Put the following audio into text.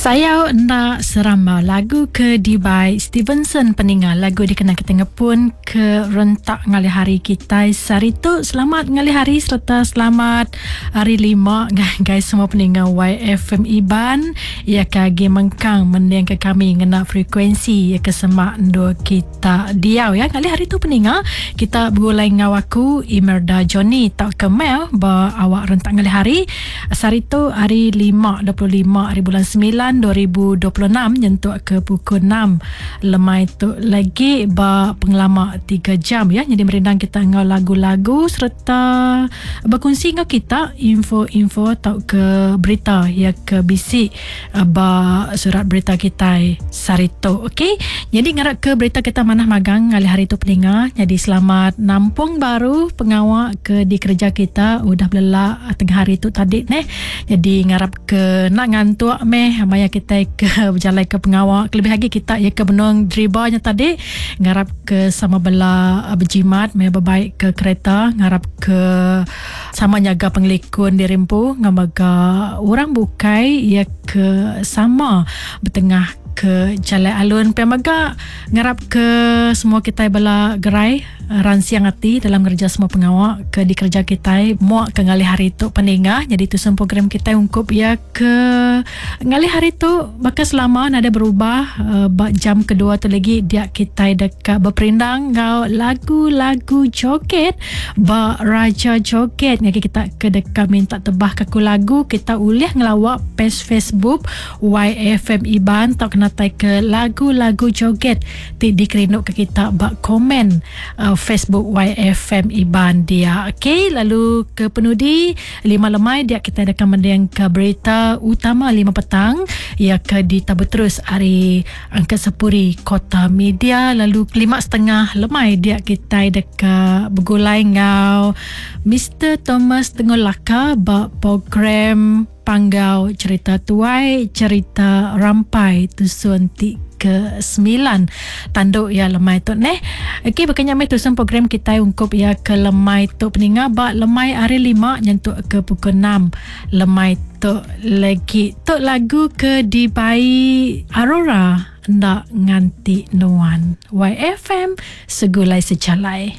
Sayau enda seramba lagu ke dibai Stevenson peninga lagu dikena kita ngepun ke rentak ngalih hari kitai sehari tu. Selamat ngalih hari sereta selamat hari lima ngagai semua peninga YFM Iban iya ke agi mengkang mendingka kami ngena frekuensi iya ke semak endur kita diau ya. Ngalih hari tu peninga kita begulai enggau aku Imerda Johnny tauka Mel ba awak rentak ngalih hari. Sehari tu hari lima 25 hari bulan 9 2026 nyentuk ke pukul 6 lemai tu lagi ba pengelama 3 jam ya. Jadi merindang kita enggau lagu-lagu sereta berkongsi enggau kita info-info tauka berita ya ke bisi ba surat berita kitai sehari tu. Okey. Jadi ngarap ke berita kita manah magang ngalih hari tu peninga. Jadi selamat nampung baru pengawa ke dikereja kita udah belelak tengah hari tu tadi neh. Jadi ngarap ke nak ngantuk meh maya kitai ke bejalai ke pengawa kelebih agi kita ya ke benung driba nya tadi ngarap ke sama bela bejimat maya bebaik ke kereta ngarap ke Sama nyaga pengelikun diri empu enggau mega orang bukai iya ke sama betengah ke jalai alun. Pia mega ngarap ke semua kitai bala gerai ransing ati dalam ngereja semua pengawa ke dikereja kitai muak ke ngalih hari tu peningah. Nyadi tusun program kitai ungkup iya ke ngalih hari tu baka selama nadai berubah ba jam kedua tu lagi dia kitai deka beperindang enggau lagu-lagu joget ba Raja Joget ngagai kita ke deka minta tebah ke aku lagu kita ulih ngelawa page Facebook YFM Iban tauka natai ke lagu-lagu joget ti dikerindu ke kita ba komen Facebook YFM Iban dia. Okey lalu ke penudi 5 lemai dia kita deka mendingka berita utama 5 petang iya ke ditabur terus ari Angkat Sepuri Kota Media lalu 5.30 lemai dia kitai deka begulai enggau Mister Thomas Tengul Laka ba program Panggau Cerita Tuai Cerita Rampai Tusun ti ke 9 tandu iya lemai tu neh. Okey baka nya meh tusun program kitai ungkup iya ke lemai tu peninga ba lemai hari 5 nyentuk ke pukul 6 lemai tu legi. Tu lagu ke dibai Aurora enda nganti nuan. YFM segulai sejalai.